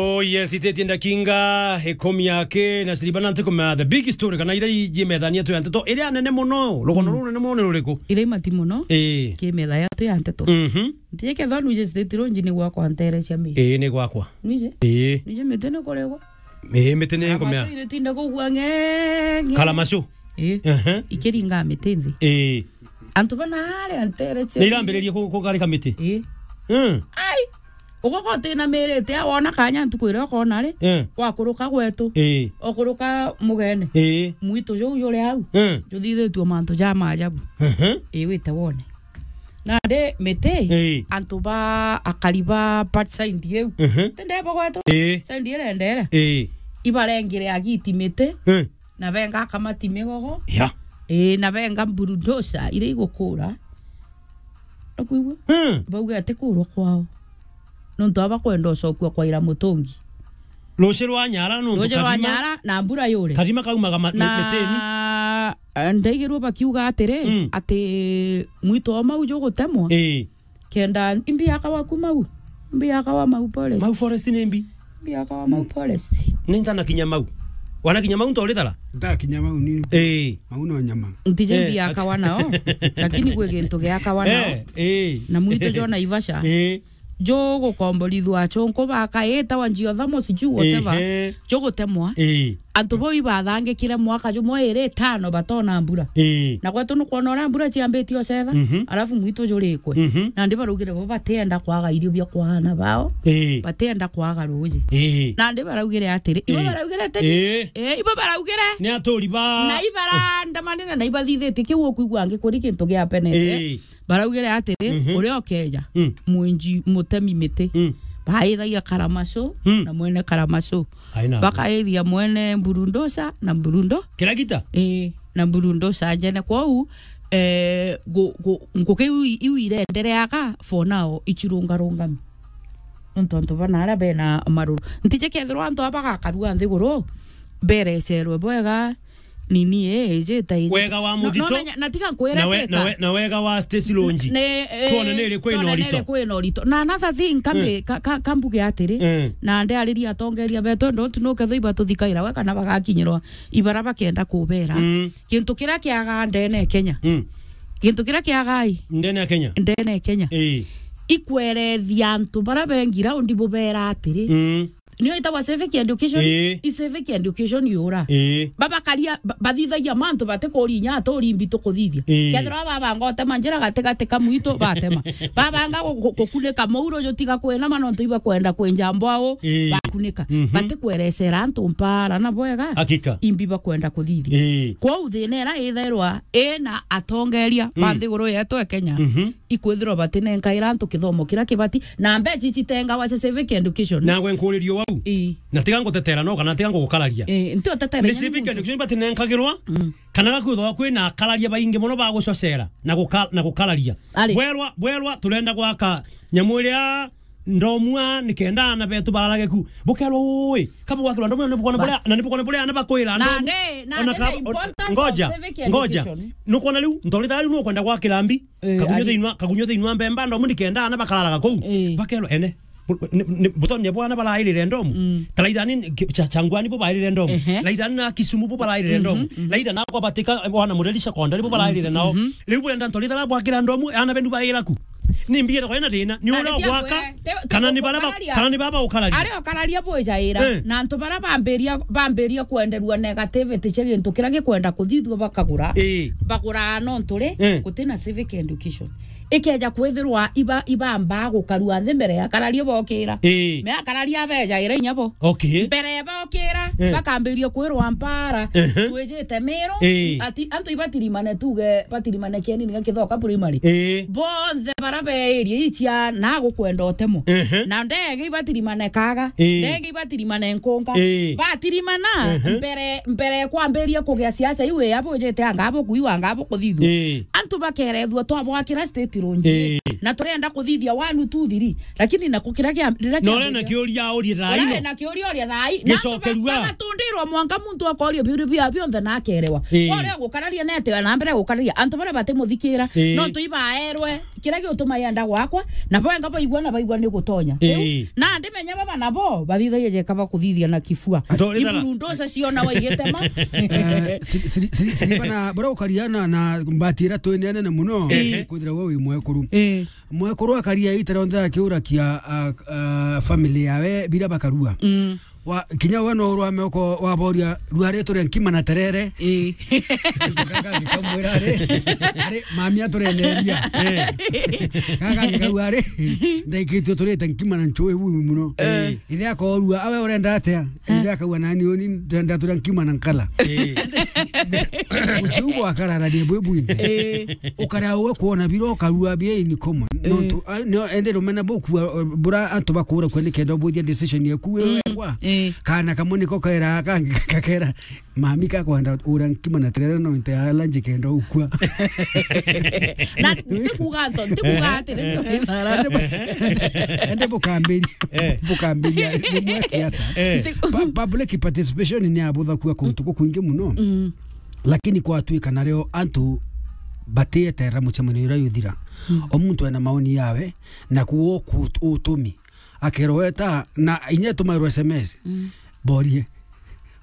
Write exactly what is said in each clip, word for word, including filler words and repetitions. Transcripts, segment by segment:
Oh yes, itetie ndakinga ikumi yake na siriba na ntikumenya the big story kana iria iji methania tu ya nteto iria nene muno, rugono ruu nene muno ni ruriku? Iria imati muno. Ii. Ki metha ya tu ya nteto. Mhm. Ntie kethwa nwije state ronji ni gwakwa ntere cia mi. Ii, ni gwakwa. Nwije? Ii. Nwije miti ni kurigwa. Ii, miti ni ngomea. Karamashu iritinde kugua ngenge. Karamashu? Ii. Ehe. Ikiringa miti nthi. Ii. Antu bana aria ntere cia. Ni irambiririe ku-, kugarika miti? Ii. Mm. Ai! Ugoka utinamirite, wona kanya ntuku iria ukona ri, eh, wakuruka gwetu, eh, ukuruka mugene, eh, mwitu juu juri au, eh, juthithitue mantu ja maajabu. Ehe. Ii, wite wone. Nandi miti, eh, antu ba akari ba part side iu. Ehe. Tindebo gwetu. Eh. Side irendere. Eh. Ibarengire agiti miti. Eh. Na benga akamati migogo. Ya. Ii, na benga bulldozer iria igukura. Nukwigua? Hmm. Bauge ati kurwa kwao. Nontu aba kwenda ucokua kwa ira mutungi. Ruci rwa Nyara nontu. Ruci rwa Karima, Nyara na mbura yure. Karima kaumaga ma-, na mitini. Eh, ndaigirwe bakiuga atiri, mm, ati mwito o mau jugutemwa. Ii. Kenda imbi akawa ku mau. Imbi akawa mau forest. Mau forest ni mbi. Imbi akawa mau forest. Ni ntanakinya mau. Wanakinya mau ntoritara? Ntakinya mau ni. Ii. Mau no nyama. Ntije, eh, imbi akawa nao. Lakini gwi gintu giakawa nao. Eh, eh. Na mwitu jo Naivasha. Eh. Jugukomborithua achunku bakaitawa geothermal sijui whatever. Ehe. Jugutemwa. Ii. Antu bau ibathangikire mwaka jumwe iri itano batona mbura. Ii. Na gwetu nukwona uria mbura ciambitie ucetha, mhm, alafu mwitu jurikwe. Mhm. Nandi baraugire bo batienda kwaga irio bia kwa aana bao. Ii. Batienda kwaga ruuji. Ii. Nandi baraugire atiri, ibo, ii, baraugire atiri, ii, ii, ibo baraugire. Ni aturi ba. Na ibarandamanire na ibathithitie kiu ukwigua angi kuri gintu giapenete. Ii. Baraugire atiri, mhm, uria ukeja, mm, mwinji mutemi miti, mm, baithagia Karamacu, mm, na mwene Karamacu. Aina. Bakaithia mwene Mburundosa na Mburundo. Kiragita? Ii, na Mburundosa njene. Kwou, eh, ngu-, ngu-, ngugi iu i-, iu irendereaga for now, icirungarungami. Nontu antu bana aria bena maruru. Ntije kethirwa antu aba bagakarua nthiguru, berecerwe bwega, nini, eh, ijita iji. Wega wa muthito. No, no, na, na tiga nkwire na we-, teka. Na we-, na wega wa Stacy Lonji. Ne, eh, twone ni iriku ina urito. Twone ni iriku ina urito. Na another thing, kambi-, eh, ka-, ka-, kambuge atiri, eh, na ndiariria atongeria betu, ndo tu no ketho ibatuthikaira we kana bagakinyirwa ibara bakenda kubera. Mm. Gintu kiria kiaga ndene Kenya. Mm. Gintu kiria kiaga i. Ndene ya Kenya. Ndene Kenya. Eh. Ikwerethia antu bara bengi raundi bubera atiri. Mm. Niyo itagwa civic education? Ii. I civic education yura. Ii. Babakaria, ba-, bathithagia mantu batikuri inya aturi mbi tukuthithia. Ii. Kethirwa babanga utema njira gatigati ka mwitu, batema. Babanga gu-, gu-, gukunika mauro jutiga kwinama nontu ibakwenda kwinja mbwau, ii, bakunika. Mhm. Batikwerecera antu mpara na bwega. Hakika. Imbi bakwenda kuthithia. Ii. Kwou thina ira ithairwa ina atongeria ba, mm, nthiguru yetu ya Kenya. Mhm. Ikwithirwa batinenkaira antu kithomo kiria kibati, na mbeca ici citengawa cia civic education. Nagwe nkuririo wau. Ii. Na tiga ngutetera no kana tiga ngugukararia. Ii, nti utetera. Ni inya ni civic muntu. Education ibatinenkagirwa, mm, kana gakwithagwa kwina akararia baingi muno ba gucocera na guka-, na gukararia. Ari. Bwerwa, bwerwa turenda gwaka nyamu iria ndomua nikenda ana betu bararage ku. Bukerwa ui, kabu gwakirwa ndomua ni bukona buria, bas, na ni bukona buria ana bakwira ndomua. Nandi, nandi ona ka-, the importance of civic education. Ngoja, ngoja. Nukwona riu, ntorita riu nukwenda gwakira mbi. Eh, kagunyo ari. Thiini wa, kagunyo thiini wa mbemba ndomu nikenda ana bakararaga kuu. Eh. Bakerwa ene. Bu-, ni, ni, butonya bwana barairire ndomu. Mm. Ta Laithani ni, ki-, cha, Changwani bo bairire ndomu. Ehe. Laithani na Kisumu bo barairire, mhm, ndomu. Mhm. Laithani na kwa batika, eh, bwana Mureri Secondary bo barairire nao. Mhm. Riu burenda ntorita ra gwakira ndomu, ana benu baira ku. Ni mbi ethagwa ina thina. Ni uria ugwaka, kana ni bara ba-, kana ni baba ukararia. Aria ukararia bwijaira. Eh. Na antu bara bambiria, bambiria kwenderua negativity cia gintu kiria gikwenda kuthithua bakagura. Eh. Bagura nontu ri, eh, gutina civic education. Ikeja kwithirwa iba-, ibambaa gukarua nthi mbere ya akararia bokira. Ii. Me akararia abejaira inya bo. Okay. Mbere bokira, eh, bakambiria kwirwa mpara, ehe, twijite Miru, ii, ati antu ibatirimane tuge, batirimane Kieni niga Kithoka primary. Ii. Bonthe bara be area icia na gukwenda utemo. Ehe. Na ndege ibatirimane Kaga, ii, ndege ibatirimane Nkunga. Ii. Batirimana, ehe, mbere, mbere kwambiria kugia siasa iu ya bwijite anga bo kuiwa anga bo kuthithua. Ii. Antu bakerethua twabwakira state lounge. Ii. Na turenda kuthithia one, two, three. Lakini na kukira kia, riria no, kia na kiuria urie thaa ino. Na kiuria urie thaa ino. Gicokerua. Na antu ba-, bamatunda Rirwa mwanka muntu akorio biuru bia bionthe na akerewa. Ii. Uria gukararia nete na mbere gukararia antu baria batimuthikira. Ii. No tui baerwe kiria giutuma yenda gwakwa, na boenga baigua na baigua ni gutonya. Ii. Riu, na ndimenya baba nabo bathithagia jeka bakuthithia na kifua. Iburu ndosa ciona waigitema. Eh, siri-, siri-, siri-, siri bana, bora ukaria na, na mbati ira twene nene muno, ehe, kwithira we wi mwekuru. Ii. Mwekuru akaria ita rionthe akiurakia, a, a, family yawe bira bakarua. Mm. Wa, kinya we no urwame uko waboria, "Rua ri turia nkima na terere?" Ii. Gaga gikamwira ari, ari, "Mami atureneria." Ii. Gaga gikauga ari, "Ndaikitio turite nkima na nchui bui muno." Ii. Ithe akorua, "Awe urenda atia?" Ii. Ithe akauga, "Nani uni ndenda turia nkima na nkala." Ii. Uchiu bwakararania bwi bwinthe. Ii. Ukarea uwe kwona bira ukarua bia in common. Ii. Nontu, a, no, ende rumena bukua, bura antu bakura kwe nikenda ubuthia decision yaku wi wegwa. Ii. Kana kamwe niko kaira kangi kakera, "Mami kakwenda ura nkima na terere no inte ya lunch kenda ukua." Na ntikuga nto, ntikuga atiri, ende bukambiria, eh, bukambiria ni mwe siasa. Eh. Pa-, public participation ni abutha kua kuntu kukwingi muno. Mm. Lakini kwatuika nario antu batieterera mucemanio uria yuthira. Mm. O muntu ena maoni yawe, na kuo ku-, utumi. Akerwa weta, na inya tumairwa S M S. Mm. Borie.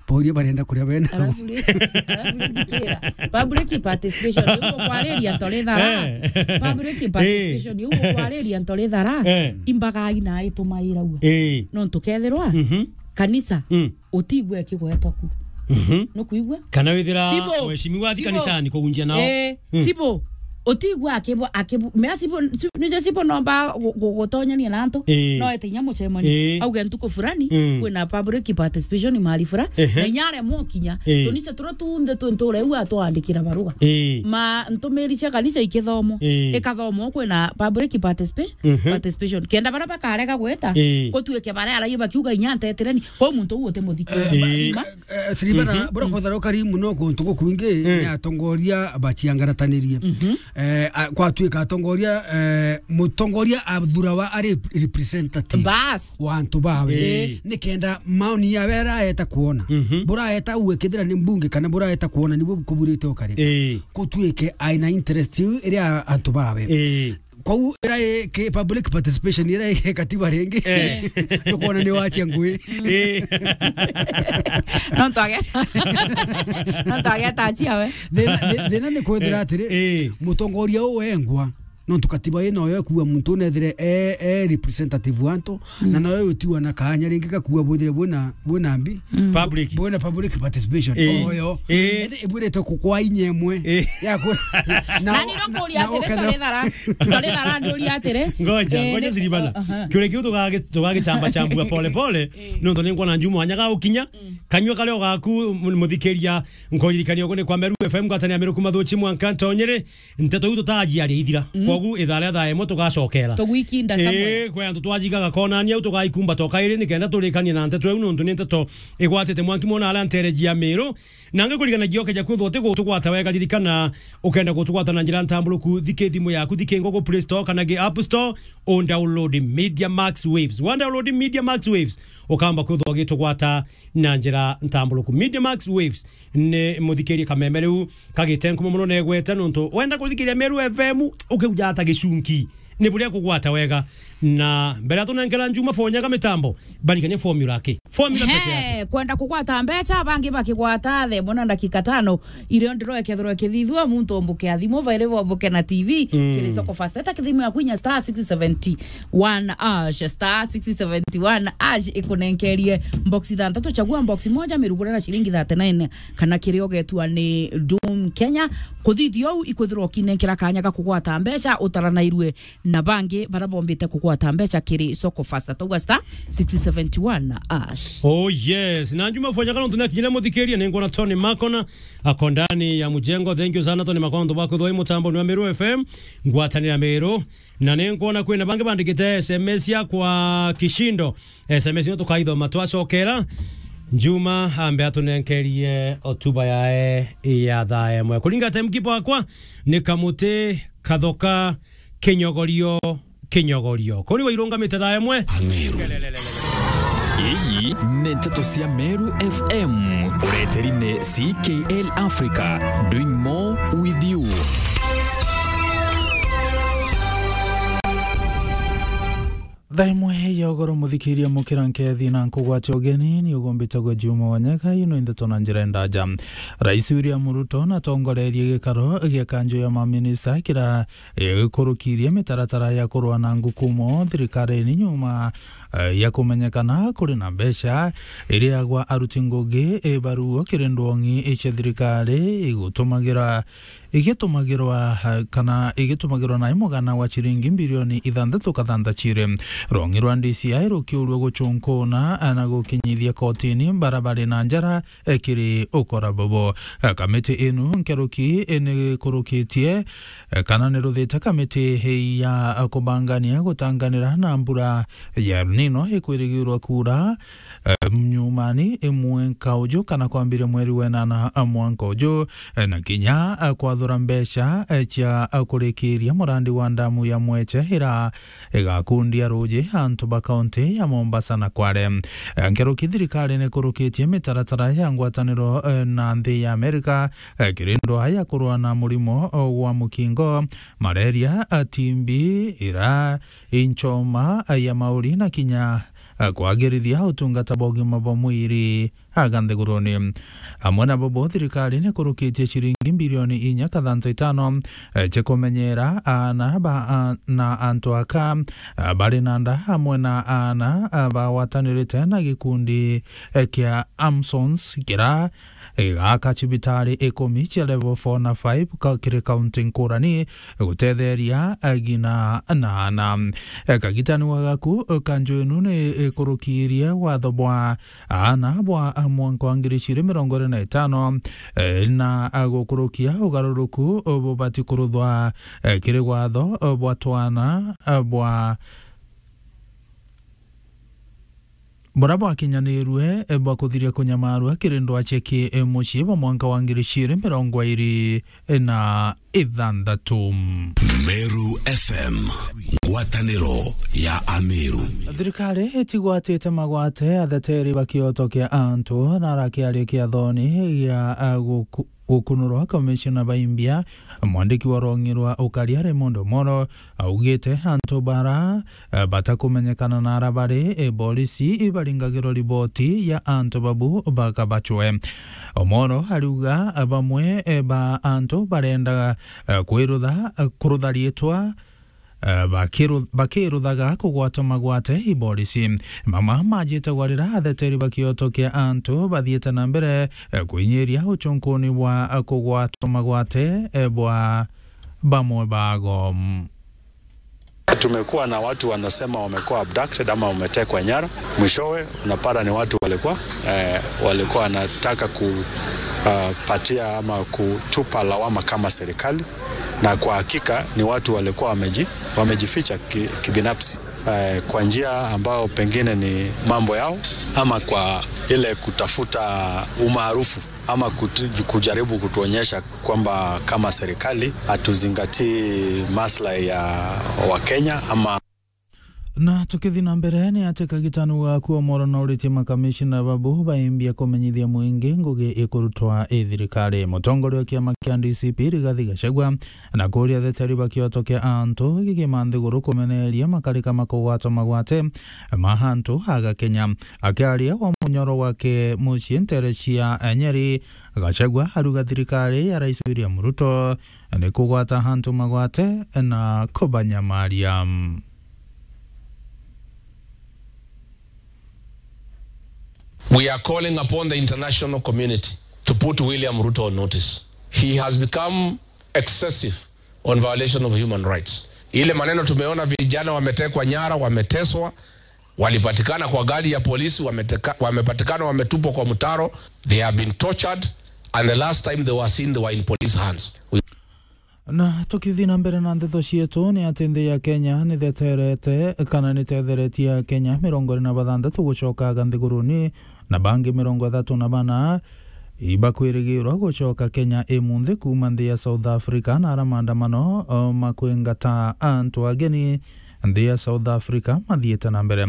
Borie barenda kuria bena. Alafu ri-, alafu ri-, thikira. Public participation, ni ukwariria ntori thara. Eh. Public participation, ni ukwariria ntori thara. Eh. Imbaga ina itumairagua. Eh. No tukethirwa, mhm, kanisa. Mm. Utigwe kigwetwa ku. Mhm. Nukwigua? Kana withira Sibo. Mheshimiwa athi Sibo. Kanisani kugunjia nao. Eh, mm. Sibo. Utigwa akibu, akibu, mea Sibo, si-, nije Sibo nomba gu-, gu-, gutonyania na antu. Eh. No ete inya mucemani. Eh. Auge ntuku fulani, mm, kwina public participation mali fura. Ehe. Na inya aremwo kinya. Eh. Tunise tura tunthe twi ntura iu atwandikira baruga. Eh. Ma ntumiri cia kanisa ikithomo. Eh. Ikathomo kwina public participation. Mhm. Participation. Kenda bara bakarega gweta, eh, gutuike bara arai bakiuga inya ntetereni. Kwou muntu uu utimuthikira. Eh, ba-, eh, Silvana, mhm, bura kwethira ukari muno kuntu gukwingi, eh, ni atongoria baciangaratanirie. Mhm. Eh, a-, kwatuika atongoria, eh, mutongoria athurawa ari representative, bas, wa antu bawe. Eh. Ni kenda maoni yawe araeta kuona. Mhm. Buraeta uwe kethira ni mbunge kana buraeta kuona nibu kuburite ukari. Eh. Kutuike aina interest iu iria antu bawe. Eh. Kwou ira i ki public participation ira i katiba ringi. Eh. Ndukwona ni wachia ngui. Eh. No twage. No twage tachi awe. Thina, thi-, thina ni kwithira, eh, atiri, eh, mutongoria uu wengwa, nontu katiba ino yo ekuwa muntu unethire e, e representative wa antu, mm, na nayo utiwa na kanya ringi gakuwa bwithire bwina, bwina mbi. Mm. Public. Bwina public participation. Eh. Oyo. Eh. Indi ibwirite kukwa inya imwe. Eh. Ya ku-, na, na ni no kuria atiri, ukethira tori thara, tori thara ndi uria atiri. Ngoja, eh, ngoja ni-, Silvana. Aha. Kiuria kiu tugagi-, tugagichamba chambua pole pole. Eh. Nontu ni nkwona njumu anyaga ukinya. Mm. Kanyua karia ugaku, mu-, muthikiria, nkuririkania ugu ni kwa Meru F M, ngwatanira Meru kuma Thuchi mwanka Ntonyere. Nteto iu tutajiaria ithira. Mm. Kogu ithaa ria thaa imwe tugacokera. Tugwikinda somewhere. Ii, kwe antu twajigaga konania au tugaikumba toka iri nikenda turikanie na nteto iu nontu ni nteto igwatite mwanki mwana aria ntereji ya Meru. Na ngikuriganagia ukeja kwithwa uti gutugwata wega, ririkana ukenda gutugwata na njira ntamburuku, thiki thimu yaku, thiki Google Play Store kana gi App Store, undownload Media Max Waves. Wa download Media Max Waves, ukamba kwithwa ugitugwata na njira ntamburuku. Media Max Waves ni muthikirie kameme riu kagite nkumo muno negwete nontu wenda kuthikiria Meru F M ukeuja ata gicunki. Ni buria kugwata wega. Na mbere ya tunenkera Njuma Fonyaga mitambo, barikania formula ki? Formula peke yake. He, kwenda kugwata mbecha, bangi bakigwata the mona ndakika tano, irio ndiro ikethirwa ikithithua, muntu ombuke athimu, bairi bombuke na T V, mm, kiri Soko Fast. Eta kithimu ya kwinya star six seventy one hash, star six seventy one hash ikunenkerie box ithanthatu, chagua box moja, mirugure na shilingi thirty-nine, kana kiria ugetua ni Doom Kenya. Kuthithia uu ikwithirwa ukinenkera kanya ga kugwata mbecha utaranairue na bangi bara bombite kugwata mbecha kiri Soko Fast. Tauga star six seventy one hash. Oh yes, na Njuma Fonyaga nontu nakinyire muthikiria, ni ngwona Tony Makona ako ndani ya mujengo. Thank you sana Tony Makona nontu bwa kwithwa i mutambo ni wa Meru F M, ngwatanira Meru. Na ni nkwona kwina bangi bandikite S M S ya kwa Kishindo. S M S ino tukaithoma twacokera. Njuma ambe atunenkerie otuba yae ya thaa imwe. Kuringa time kipo akwa ni kamuti kathoka kinyogorio, kinyogorio. Kuri wairungamite thaa imwe. Ameru. Iyi ni nteto cia Meru F M. Ureteri ni C K L Africa, doing more with you. Thaa imwe ya ugoro, muthikiria mukira nkethi na nkugwate ugeni, ni ugumbitagwa Juma Wanyaga. Ino ndeto na njira ndaja. Rais William Ruto natongorerie gikaro gia kanjo ya maminista kira, eh, gikurukirie mitaratara ya kurua na ngukumo thirikarine nyuma, eh, ya kumenyekana kuri na mbeca iriagwa aruti ngugi, eh, baruo kiri ndwong'i cia thirikari igutumagira igitumagirwa, eh, kana igitumagirwa na imugana wa ciringi mbirioni ithanthatu kathantha ciri. Rwong'i rwa D C I rukiurua gucunkuna, eh, na gukinyithia kotini bara bari na njara, eh, kiri ukora bobo. Eh, kamiti inu nkeruki, eh, nikurukitie, eh, kana niruthite kamiti ya, eh, kubangania gutanganira na mbura ya El Nino ikwirigirwa kuura, eh, nyumani, eh, mwanka uju kana kwambiria mweri wa enana, eh, mwanka uju, eh, na kinya, eh, kwathura mbeca, eh, cia, eh, kurikiria murandi wa ndamu ya Mweche ira igakundia ruji antu ba kaunti ya Mombasa na Kwale. Eh, nkeruki thirikari nikurukitie mitaratara ya ngwataniro, eh, na nthi ya Amerika, eh, kiri ndwaa ya kurua na murimo, eh, wa mukingo, malaria, eh, T B, ira inchoma, eh, ya mauri na kinya, eh, kwagirithia utungata bwa ugima bwa mwiri aga nthiguruni. Amwe na bobo, thirikari nikurukitie ciringi mbirioni inya kathantha itano, eh, cia kumenyera aana ba, a, na antu aka, a, bari na nda, amwe na aana, a, bagwatanirite na gikundi, eh, kia Amsons, kira, eh, gaka cibitari ikumi cia level four na five ka, kiri kaunti nkurani, gutetheria, eh, ngina na aana. Eh, kagitani wa gaku, eh, kanjo inu ni ikurukirie watho bwa aana bwa mwanka wa ngiri igiri mirongo iri na itano, eh, na gukurukia ugaruruku bubati kuruthwa, eh, kiri watho, eh, bwa twana, eh, bwa, buria bwakinyanirue, eh, bwa kuthiria kunyamarua kiri ndwaa cia ki, eh, mucii bwa mwanka wa ngiri igiri mirongo iri na ithanthatu. Meru F M, ngwataniro ya Ameru. Thirikari itigwatite magwate atheteri ba kioto kia antu, na arakiaria kiathoni gia, a, guku-, gukunurwa komishona ba imbia, mwandiki wa rwong'i rwa ukaria Raymond Omolo augite antu bara, eh, batakumenyekana nara bari, eh, borisi ibaringagirwa riboti ya antu babu bakabacwe. Omolo ariuga, eh, bamwe, eh, ba antu barenda, eh, kwirutha, eh, kurutha riitwa, eh, bakiru-, bakiruthaga kugwatwa magwate i borisi. Mama majite gwarira atheteri ba kioto kia antu bathiite na mbere, eh, kwinyiria ucunkuni bwa, eh, kugwatwa magwate, eh, bwa bamwe bago. Tumekuwa na watu wanasema wamekuwa abducted ama wametekwa nyara. Mwishowe unapata ni watu walikuwa, eh, walikuwa wanataka ku, ah, patia ama kutupa lawama kama serikali, na kwa hakika ni watu walikuwa wameji-, wamejificha ki-, kibinafsi, eh, kwa njia ambayo pengine ni mambo yao, ama kwa ile kutafuta umaarufu, ama kutu-, kujaribu kutuonyesha kwamba kama serikali hatuzingatii maslahi ya Wakenya ama. Na tukithi na mbere, ni ati kagitani gaku Omolo nauritie makamishina babu baimbia kumenyithia mwingi ngugi ikurutwa i thirikari. Mutongoria wa kiama kia D C P Rigathi Gachagua na kuria atheteri ba kioto kia antu gikima nthiguru kumeneria makarika ma kugwatwa magwate ma antu aga Kenya. Akiaria wa munyoro wake mucii ntere cia Nyeri, Gachagua aruga thirikari ya Rais William Ruto ni kugwata antu magwate na kubanyamaria. We are calling upon the international community to put William Ruto on notice. He has become excessive on violation of human rights. Ile maneno tumeona, vijana wametekwa nyara, wameteswa, walipatikana kwa gari ya polisi, wameteka-, wamepatikana wametupwa kwa mtaro, they have been tortured, and the last time they were seen, they were in police hands. We Na tukithi na mbere na ndeto cietu, ni ati nthi ya Kenya nitheterete kana nithetheretie Akenya mirongo iri na bathanthatu gucoka aga nthiguruni, na bangi mirongo ithatu na bana ibakwirigirwa gucoka Kenya imunthi kuuma nthi ya South Africa, na ara maandamano, o, makwingata antu ageni nthi ya South Africa mathiite na mbere.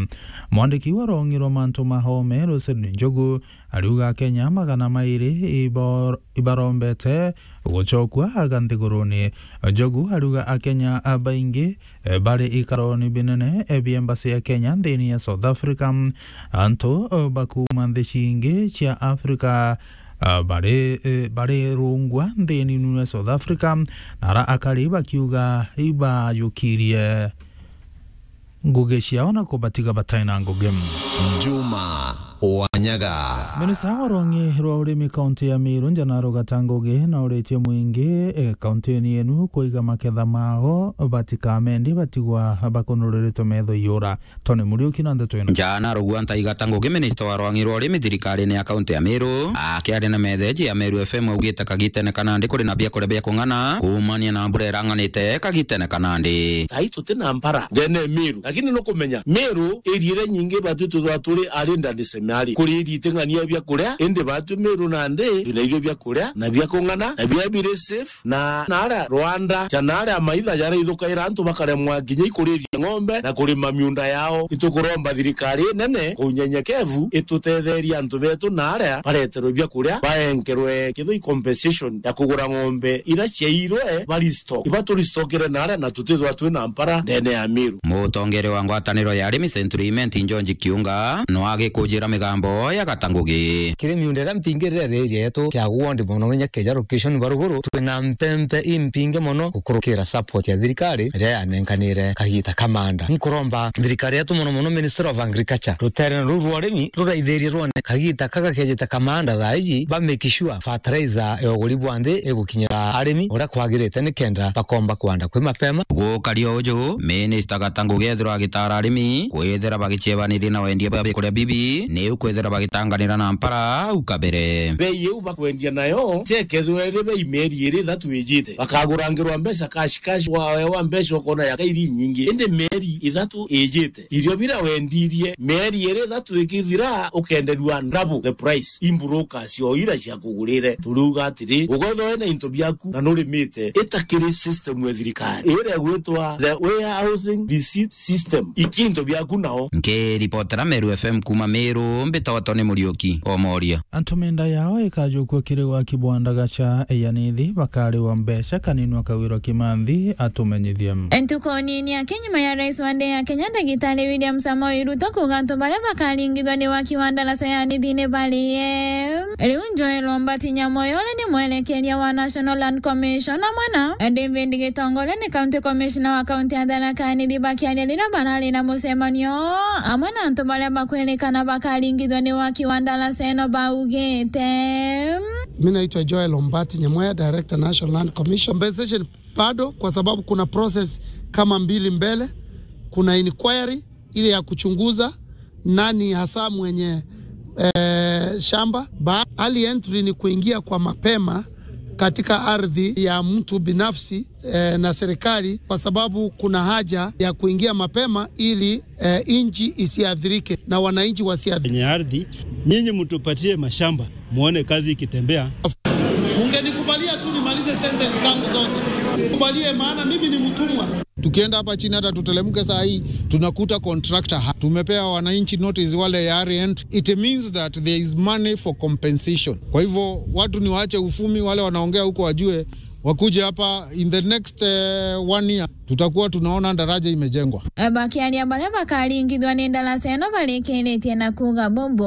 Mwandiki wa rwong'i rwa mantu ma home, Roselyn Njogu, ariuga Akenya magana mairi ibor-, ibarombete gucokua aga nthiguruni. Njogu ariuga Akenya baingi, eh, bari ikaroni binene, eh, bia embassy ya Kenya nthini ya South Africa. Antu, eh, bakuuma nthi cingi cia Africa, ah, bari, eh, bari rungwa nthini inu ya South Africa, na ara akari bakiuga ibajukirie ngugi ciao na kubatiga batai na ngugi. Juma Wanyaga. Minista wa rwong'i rwa urimi kaunti ya Meru, Njanaro Gata Ngugi, na uritie mwingi, eh, kaunti-ini yenu kuiga maketha mao, batikamendie batigwa bakunururitwe metho iura. Tony Muriuki na ndeto ino. Njana Rugwanta Igata Ngugi, minista wa rwang'i rwa urimi thirikari-ini ya kaunti ya Meru, akiaria na metheji ya Meru F M, augite kagitene ka nandi kuri na biakuria bia kung'ana kuumania na mbura irang'anite kagitene ka nandi. Thaai tuti na mpara ndene ya Meru, lakini nukumenya Meru area iria nyingi batwi tuthwa turi ari ndani semiari kuri iria iting'ania biakuria, indi batwi Meru nandi twina irio biakuria na bia kung'ana na bia biri safe. Na, na aria rwanda, kana aria maitha jaraithukaira antu bakaremwa kinya ikuriria ng'ombe na kurima miunda yao. Itukuromba thirikari inene kwa unyenyekevu itutetherie antu betu na aria bareterwe biakuria baenkerwe kithoi compensation ya kugura ng'ombe iria ciairwe bari stock. Iba turi stockire na aria na tutithwa twina mpara ndene ya Meru. Mutongere wa ngwataniro ya arimi Century Imenti George Kiunga no agikujira migambo ya Gata Ngugi. Kiri miunda iria mpingi riria riri rietu kia ward mono inya keja location ba ruguru, twina mpempe impingi mono gukurukira support ya thirikari iria yanenkanire kagita ka manda. Nkuromba thirikari yetu mono mono Ministry of Agriculture, rutere ruu rwa urimi ruraithirie rwone kagita kaka kejite ka manda thaa iji, ba make sure fertilizer ya uguri bwa nthi igukinyira arimi uria kwagirite nikenda bakomba kwanda kwi mapema. Gukari o uju, Minister Gata Ngugi ethirwa agitara arimi kwithira bagiciebaniria na wendia bwa bikuria bibi, niu kwithira bagitanganira na mpara au kabere. Bei iu bakwendia nayo, tiekethirwa iri bei mieri iri ithatu ijite, bakagurangirwa mbeca cash cash, waewa mbeca ukona yaka iri nyingi. Indi mieri ithatu ijite, irio bira wendirie mieri iri ithatu ikithira, ukenderua double the price. Imburuka cio ira cia kugurire. Turiuga atiri, ukwethwa wina into biaku na nurimite, ita kiri system ya thirikari iria igwitwa the Warehousing Receipt System. Iki into biaku nao. Nkiripotera Meru F M kuuma Meru, mbitagwa Tony Muriuki Omoria. Antu menda yao ikajukua kiri gwaki bwa ndagaca ya nithi bakariwa mbeca, Kanini Kawira Kimanthi atumenyithie. Ntuku nini aki nyuma ya rais wa nthi ya Kenya, Ndagitari William Samoei Ruto, kuuga antu baria bakaringithwa ni waki wa ndaraca ya nithi ni barie. Riu Joel Ombati Nyamoyo, uria ni mwerekeria wa National Land Commission, amwe na David Gitongole, ni County Commissioner wa kaunti ya Tharaka Nithi, bakiaria riria barari na mucemanio amwe na antu baria bakwirikana bakaringithwa ni waki wa ndaraca ino, baugite. Mi naitwa Joel Ombati Nyamoya, Director National Land Commission. Compensation bado, kwa sababu kuna process kama mbili mbele. Kuna inquiry ile ya kuchunguza nani hasa mwenye, eh, shamba. Ba-, early entry ni kuingia kwa mapema katika ardhi ya mtu binafsi, eh, na serikali, kwa sababu kuna haja ya kuingia mapema ili, eh, nchi isiathirike na wananchi wasiathirike. Wenye ardhi, nyinyi mtupatie mashamba, muone kazi ikitembea. Ungenikubalia tu nimalize sentence zangu zote. Kubalie, maana mimi ni mtumwa. Tukienda hapa chini, hata tutelemke saa hii, tunakuta contractor ha-, tumepea wananchi notice wale ya rent. It means that there is money for compensation. Kwa hivyo, watu ni waache ufumi, wale wanaongea huko wajue, wakuje hapa in the next, eh, one year, tutakuwa tunaona daraja imejengwa. Bakiaria baria bakaringithwa ni ndaraca ino barikiritie na kuuga bubu.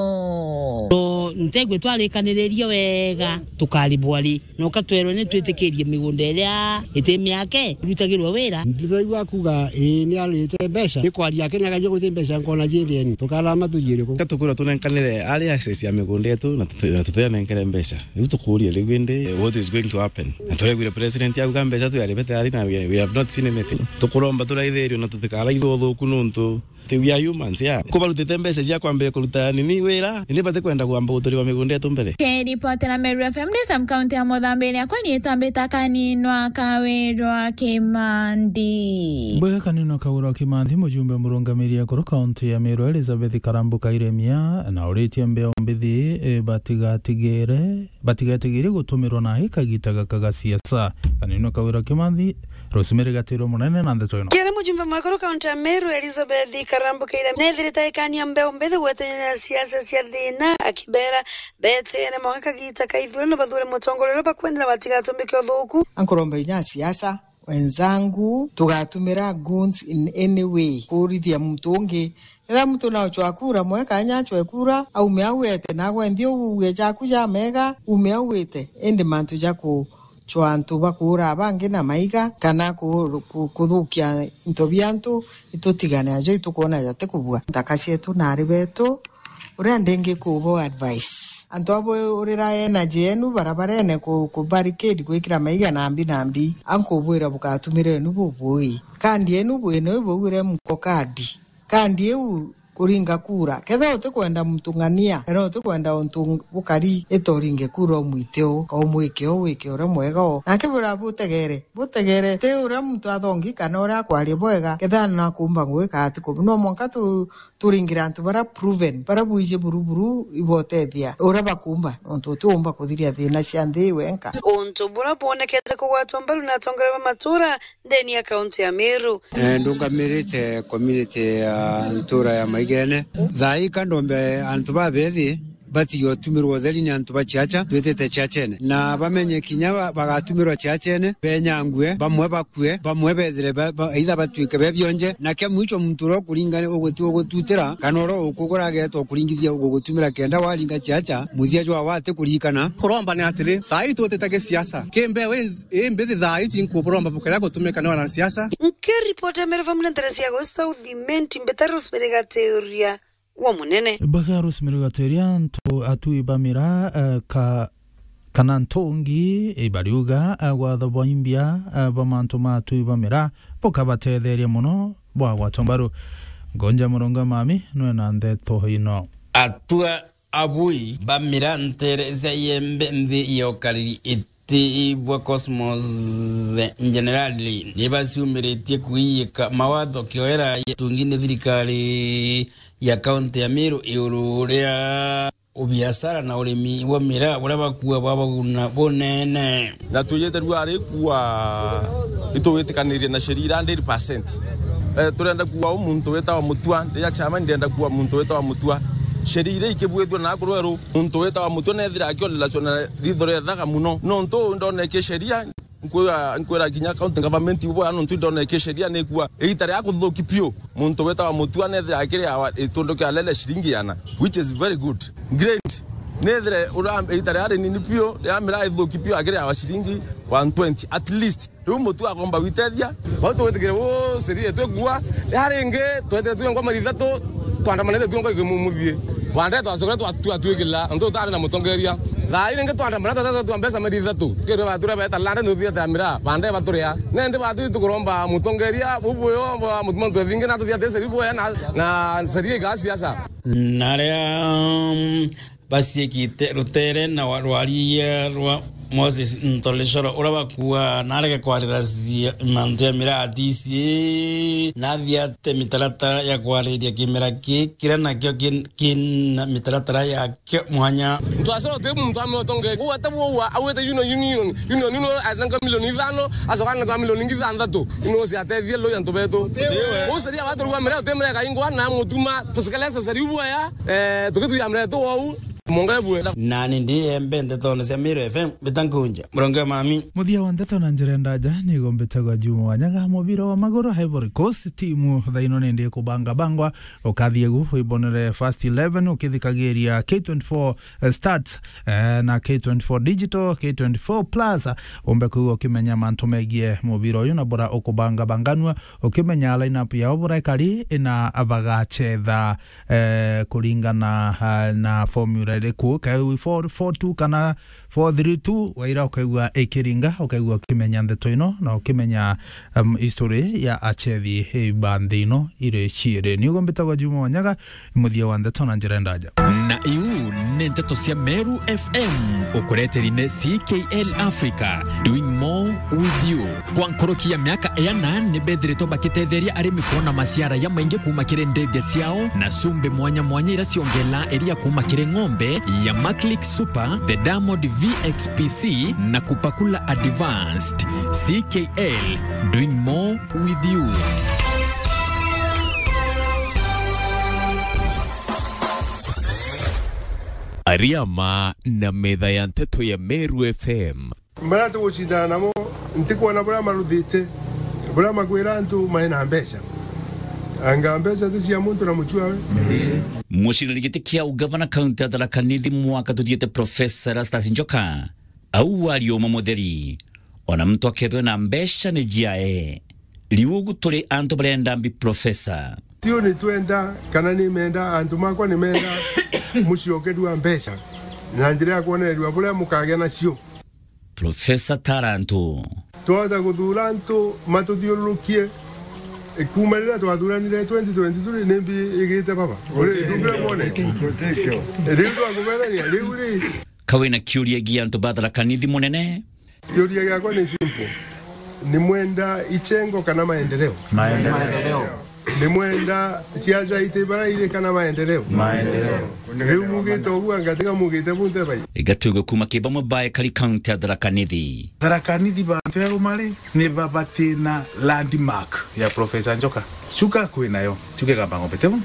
So, ntegwe twarikaniririe wega, tukaribwa ri? Noka twerwe ni twitikirie migunda iria iti miake irutagirwe wira. Ndiraigua akuga, ii, ni arite mbeca. Ni kwaria ake ni akaigua guti mbeca nkona ciendeeni. Tukarama tujiire ku? Ka tukwirwa tunenkanire ari access ya migunda yetu na tuti-, na tutianenkere mbeca. Riu tukuuria riu indi, what is going to happen? Na turaiguire president auga mbeca twiaribete ari na we, we have not seen anything. Tukuromba turaithirio na tutikaraithwe uthuku nuntu Ti we are humans, yeah. Kubarutite mbeca cia kwambia kuruta nini wira, indi batikwenda kwamba guturiwa migunda yetu mbere. Kiripotera Meru F M ndi sub county ya Muthambi iria kwani itambita Kaninwa Kawirwa Kimanthi. Mbwega Kaninwa Kawirwa Kimanthi, mujumbe murungamiri akuru kaunti ya Meru Elizabeth Karambu Kairemia, na uritie mbeo mbithi, eh, batigatigire, batigatigire gutumirwa na ikagita gaka ga siasa. Kaninwa Kawirwa Kimanthi, Rosemary Gatirwa Munene na ndeto ino. Kiria mujumbe mwekuru kaunti ya Meru, Elizabeth Karambu Keira, nethirite aikania mbeu mbithi gwetania na siasa cia thina, akibera betene mwanka kagita ka ithurano bathure mutongoria uria bakwendera batigatumike uthuku. Ankuromba inya siasa, wenzangu, tugatumira goons in any way kuurithia muntu ungi. Ethira muntu naocwa kura, mwe kanya acwe kura, aume au ete, nagwe nthi ugue jaku jamega, ume au ite. Indi mantu ja kucwa antu bakuura bangi na maiga, kana ku-, ku-, kuthukia into bia antu, itutigane ajo itukwona jati kubua. Nthaka cietu na ari betu, uria ndingi kubo advice. Antu abo urira energy yenu barabarene ku, ku barricade gwikira maiga nambi nambi, ankubwira bugatumire enu bubui. Kandi enu bwino ibugure mko kandi. Kandi iu kuringa kura. Kethira utikwenda muntu ng'ania, kana utikwenda untu bukari, ita uringe kura umwite u, ka umwike u, wike uria mwega u. Nake bura butegere, butegere. Ti uria muntu athongi kana uria akwaria bwega, kethira nakumba ngwika ati ku. No mwanka tu, turingire antu bara proven, bara bwiji buruburu ibotethia uria bakumba, nontu utiumba kuthiria thina cia nthi wenka. Untu bura bwonekete kugwatwa mbaru na atongoria ba matura ndeni ya kaunti ya Meru. Eh, ndungamirite community ya ntura ya Maigene. Thaa ii ka ndombe antu babethi batige utumirwa utheri ni antu ba chiacha, twitite chiachene. Na bamenye kinya ba-, bagatumirwa chiachene, benyangue, bamwe bakue, bamwe bethire ba-, ba-, either batwike be bionje. Na kia mwicho muntu uria ukuringane uguti-, ugututira, kana uria ukugura agetwa ukuringithia ugugutumira kenda waringa chiacha, muthia jwa wati kurikana. Kuromba ni atiri, thaa ii twitite gisiasa. Kimbe we Ii mbithi thaa ici nkuburomba bukaya gutumika ni wanasiasa. Nkiripoti ya Meru Family Interest ya Gusauthi Menti Mbita Rosemary Gateria wa Munene. Baga Rosemary Gateria, ntu atui ba miraa, eh, ka, kana ntungi, eh, bariuga, eh, gwatho bwa imbia, eh, ba mantu ma atui ba miraa bukabatetheria mono bwa gwatwa mbaru. Ngonja Murunga Mami nwe na ndeto ino. Atua abui ba miraa ntere cia Iembe nthi ya ukariri iti bwa Cosmos Generali ni baciumiritie kuiyika mawatho kioera ya tungi ni thirikari ya kaunti ya Meru iguru ria ubiashara na urimi bwa miraa buria bakua bwa baguna bunene. Na twijite rua ari kua itugwitikanirie na sheria ira hundred percent. Eh, turenda kuua u muntu witawa Mutua, ndi ya chairman ndenda kuua muntu witawa Mutua. Sheria iria ikibwithua na akuru eru, muntu witawa Mutua nethira akio relation na ritho ria ithaka muno. Nontu uu ndoneke sheria, nkwira, nkwira kinya county government ibo ya nontu ndoneke sheria ni kuua igita ria kuthuki piu. Muntu witawa Mutua nethira akiriawa itundu kia lele shilingi yana, which is very good. Great. Nethire ura igita ria rinini piu, ria miraa ithuki piu akiriawa shilingi one twenty at least. Riu Mutua akomba gwitethia. Bau tugwitikire uu sheria yetu ikua. Ria ringi, twetete tuengwa meri ithatu, twandamanite tuengwa ikimumuthie. Bande twacokere twa-, twatwikirira, nontu tutari na mutongeria. Thaa ii ringi twandamana twetete twa mbeca meri ithatu. Tukirwa baturia beta lande ni uthiete ya miraa, bande baturia. Nendi batu tukuromba mutongeria, bubwio, bwa mutumo ntwethingi na tuthiate sheria bwea na, na sheria igaa siasa. Na aria, mm, baciikite rutere na wa-, rwaria rwa Moses Ntoleshoro, uria bakua narege kwarira cia-, mantu ya miraa atisi, nathiate mitaratara ya kwariria kimera ki-, kiria nakio kin-, kina mitaratara yakio mwanya. Ntwacoro ti muntu ameotonge. Uu ate bwoua, auite union, union, union ino atenga milioni ithano, acoka anenga milioni ingi ithanthatu. Ino ciatethie loi antu betu. Uu sheria watu rwa miraa uti miraa ikaingwa na mutuma, tusikalesa sheria bwea. Eh, tukituya mreto wau, monga ebwe. Nani ndi Iembe ndetone cia Meru F M, mbita Nkunja, Murunga Mami. Muthia wa ndeto na njira ndaja, nigo mbitagwa Juma Wanyaga, mubira wa maguru, Ivory Coast, timu thaino nindi kubanga bangwa, ukathie gu, wibonere first eleven, ukithikagiria K twenty-four, eh, Stats, eh, na K twenty-four Digital, K twenty-four Plus, umbe kwigua ukimenya mantu megie mubira uyu na bura ukubangabanganua, ukimenya line-up yao bura ikari, na bagachetha eh, kuringana, ah, na formula iriku, kae four four two kana four three two, waira ukaigua ikiringa, ukaigua ukimenya ndeto ino, na ukimenya, um, history ya achethi ba nthi ino iri ciiri. Niugo mbitagwa Juma Wanyaga, muthia wa ndeto na njira ndaja. Na iu Nteto cia Meru F M, ukureteri ni C K L Africa, doing more with you. Kwa nkuruki ya miaka iana, ni bethiritwe bakitetheria arimi kwona maciara ya maingi kuuma kiri ndege ciao na cumbi mwanya mwanya iria ciongela iria kuuma kiri ng'ombe ya Maclick Super, the Diamond V X P C na Kupakula Advanced. C K L, doing more with you. Ariama na metha ya nteto ya Meru F M. Maria tugucindana namo, ntikwona buria maruthite, buria makwira antu maina mbeca. Anga mbeca ti cia muntu na mucua we? Muciriri giti kia ugavana kaunti ya Tharaka Nithi mwaka tuthiite, Professor Erastus Njoka, au wari uma mutheri. Ona muntu akethwe na mbeca ni jiae. Riu ugu turi antu barenda mbi, Professor. Tiu ni twenda, kana ni menda, antu makwa ni menda muciokerua mbeca na njira ya kwonererua buria mukagia nacio. Professor Tarantu. Twahota kuthura antu matuthiururukie. Kuuma riria twathuranire twenty twenty-three, ni mbi igite baba. Uri, ndugire mwone. Riu twakubethania, riu ri. Ka wina kiuria gia antu ba Tharaka Nithi munene? Kiuria giakwa ni simple. Ni mwenda ichengo kana maendeleo? Maendeleo. Ni mwenda siasa iti bara iri kana maendeleo? Maendeleo. Riu mugite uguo, anga tiga mugite bunte bai? Iga tuigue kuuma ki bamwe ba ekari kaunti ya Tharaka Nithi. Tharaka Nithi bantu eruma ri, ni babatina landmark ya Professor Njoka. Chuka kwi nayo, Chuka Igamba Ng'ombe, tiu?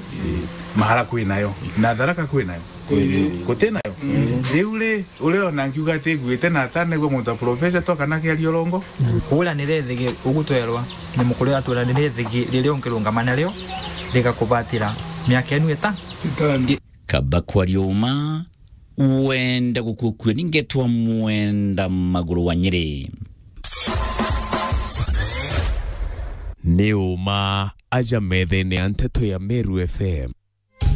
Mahara kwi nayo, na Tharaka kwi nayo. Guti nayo. Riu ri, uria ona nkiuga ati nguite na atanegua muntu wa professor to kana kiaria urongo. Kuuranire ithigi, ugu twerwa ni mukuru atwira ni ithigi riria ungirungama nario rigakubatira miaka enu ita. Itano. Kaba kwaria uma, wenda gukukua ni ngetwa mwenda maguru wa Nyeri. Ni uma aja methene ya nteto ya Meru F M.